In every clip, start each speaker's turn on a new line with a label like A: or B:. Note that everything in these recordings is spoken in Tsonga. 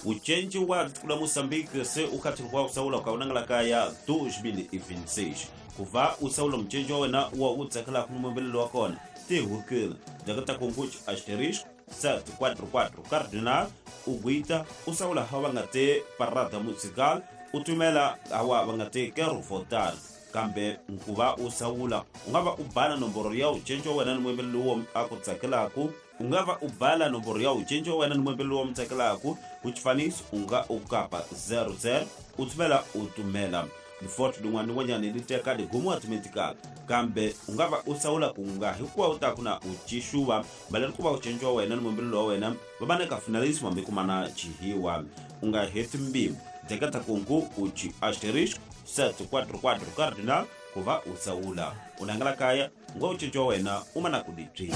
A: Ucenji wa tiko la Moçambique se ukhathiri kwa usaula ukaunangala kaya 2026 kuva usaula mucenji wa wena wa u tsakelaka ni muyimbeleli wa kona tihukile jakata kunguchi asterisco 744 cardinal ugwita usaula hawa va nga te parada musical u tumela hawa va nga te quero votar kambe nkuva u sawula u nga va u bala nomboro ya ucenci wa wena ni muyimbeleli lowu a ku tsakelaku u nga va u bala nomboro ya ucenci wa wena ni muyimbeleli lowu mu tsakelaku ku xifaniso u nga u kapa 00 u tumela u tumela lifoto lin'wana ni n'wanyana li teka ligumu automatically kambe u nga va u sawula ku nga hikuva u ta ku na u cixuva baleli ku va ucenci wa wena ni muyimbeleli wa wena va va na ka finalismo hambi kumana chihiwa u nga heti mbilu deketa kungu u ci asterisco 744 cardinal ku va u sawula u nangela kaya ngo ucinci wa wena u mana ku dibyi.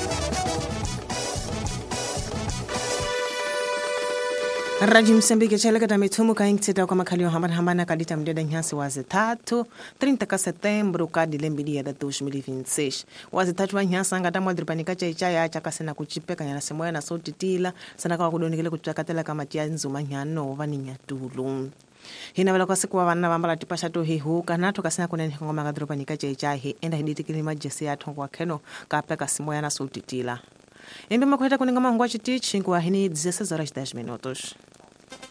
B: Radio Moçambique tšheleketa mithumu ka intsita kwa makhali yo hambana-hambana ka dita mudeda nhansi wa zithathu 30 ka setembro ka dilembili ya 2026 wa zithathu wa nhansi anga tamwa diripani ka chaichaya chakasena kuchipeka nyana semoya na sotitila sana ka kudonikele kutsvakatela ka mati ya nzuma nyano va ni nyatulu hinavela kwa siku wa vanna va ambala tipaxa to hihuka natho kasina kunene hikongoma ka diripani ka chaichaya hi enda hiditikile majesi ya thongo wa kheno kapeka simoya na sotitila embe makhweta kuninga mahungu a chitichi nkuwa hini 16 horas 10 minutos.